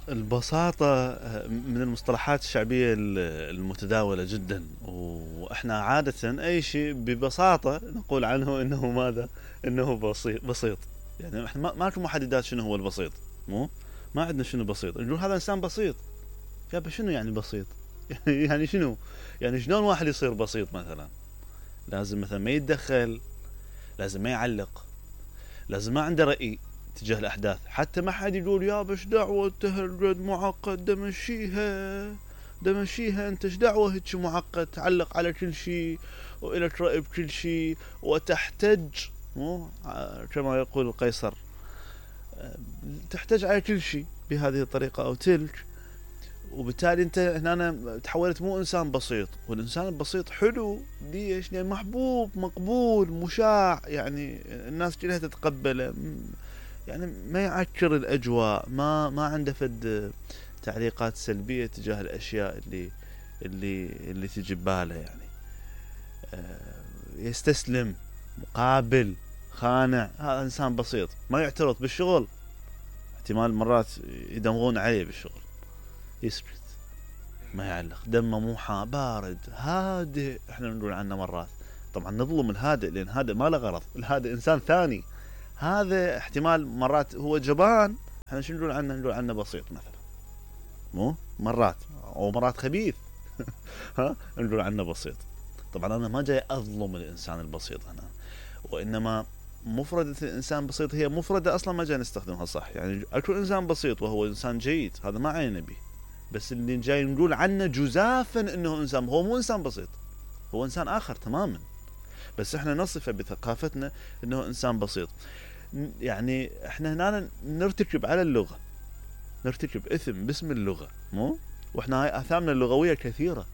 البساطة من المصطلحات الشعبية المتداولة جدا، واحنا عادة اي شيء ببساطة نقول عنه انه ماذا؟ انه بسيط. يعني احنا ما لكم محددات شنو هو البسيط، مو ما عندنا شنو بسيط، نقول هذا انسان بسيط. يابا شنو يعني بسيط؟ يعني شنو؟ يعني شلون واحد يصير بسيط؟ مثلا لازم مثلا ما يتدخل، لازم ما يعلق، لازم ما عنده رأي تجاه الأحداث، حتى ما حد يقول يا بش دعوة تهرجد معقد دمشيها انت ايش دعوة هيك معقد تعلق على كل شيء وإلك رأي بكل شيء وتحتج، مو كما يقول القيصر، تحتج على كل شيء بهذه الطريقة أو تلك. وبالتالي انت هنا تحولت مو انسان بسيط، والانسان البسيط حلو. ليش؟ يعني محبوب مقبول مشاع، يعني الناس كلها تتقبله، يعني ما يعكر الاجواء، ما عنده فد تعليقات سلبيه تجاه الاشياء اللي تجي بباله. يعني يستسلم، مقابل، خانع. هذا انسان بسيط. ما يعترض بالشغل، احتمال مرات يدمغون عليه بالشغل، يسكت، ما يعلق، دمه مو بارد، هادئ. احنا نقول عنه مرات، طبعا نظلم الهادئ لان هادئ ما له غرض، الهادئ انسان ثاني. هذا احتمال مرات هو جبان، احنا شو نقول عنه؟ نقول عنه بسيط مثلا، مو مرات، او مرات خبيث. ها نقول عنه بسيط. طبعا انا ما جاي اظلم الانسان البسيط هنا، وانما مفردة الانسان بسيط هي مفردة اصلا ما جاي نستخدمها صح. يعني اكو انسان بسيط وهو انسان جيد، هذا ما عينا به، بس اللي جاي نقول عنه جزافا انه انسان، هو مو انسان بسيط، هو انسان اخر تماما، بس احنا نصفه بثقافتنا انه انسان بسيط. يعني احنا هنا نرتكب على اللغة، نرتكب اثم باسم اللغة، مو واحنا هاي اثامنا اللغوية كثيرة،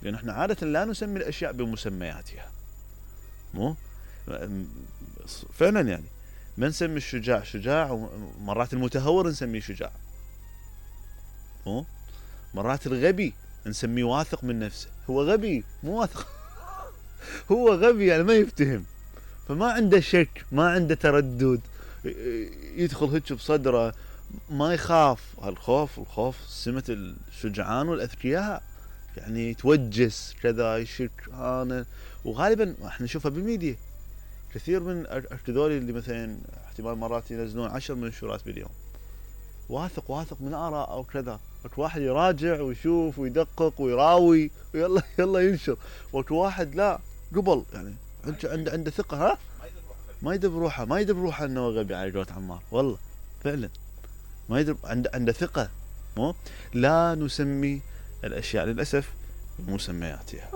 لان احنا عادة لا نسمي الاشياء بمسمياتها، مو فعلا. يعني ما نسمي الشجاع شجاع، ومرات المتهور نسميه شجاع، مو مرات الغبي نسميه واثق من نفسه، هو غبي مو واثق. هو غبي يعني ما يفتهم، فما عنده شك، ما عنده تردد، يدخل هيك بصدره، ما يخاف. الخوف سمة الشجعان والاذكياء، يعني يتوجس كذا، يشك انا. وغالبا احنا نشوفها بالميديا، كثير من هذول اللي مثلا احتمال مرات ينزلون 10 منشورات باليوم، واثق من آراء أو كذا، وقت واحد يراجع ويشوف ويدقق ويراوي ويلا يلا ينشر، وقت واحد لا، قبل يعني عنده ثقة، ها ما يدب روحه انه غبي على قولة عمار، والله فعلا ما يدب، عنده ثقة. مو لا نسمي الاشياء للاسف بمسمياتها.